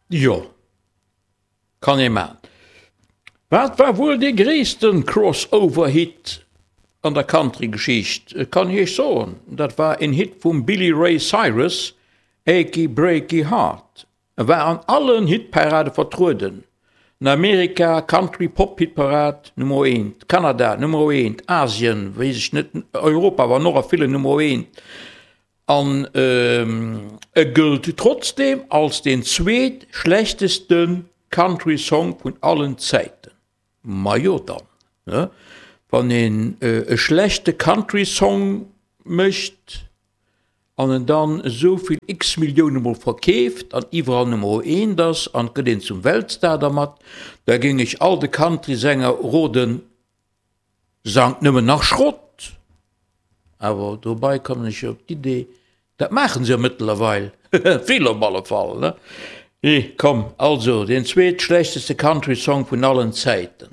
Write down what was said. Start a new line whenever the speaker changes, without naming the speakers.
Jo, kann ee man. Wat war wuel dee gréissten Crossover-Hit an der Country-Geschicht? Kann ech iech soen, dat war en Hit vum Billy Ray Cyrus, Achy Breaky Heart. E war an allen Hitparade vertrueden, an Amerika, Country Pop Hitparad, Nummer eent, Kanada, Nummer eent, Asien, weess ech net, Europa war en och a villen Nummer eent. An e gëllt trotzdeem als deen zweet schlechteste Country Song vun allen Zäiten. Majo dann, ne? Wann een e schlechte Country Song mécht an en dann esou vill x-Millioune mol verkeeft an iwwerall Nummer eent ass an et gëtt een zum Weltstar dermat, da géing ech all de Country Sänger roden, Sangt nëmmen nach Schrott! Awer dobei kommen ech op d'Idee, dat maachen se jo mëttlerweil, vill op alle Fall, ne? Komm, also, deen zweetschlechteste Country-Song vun allen Zäiten.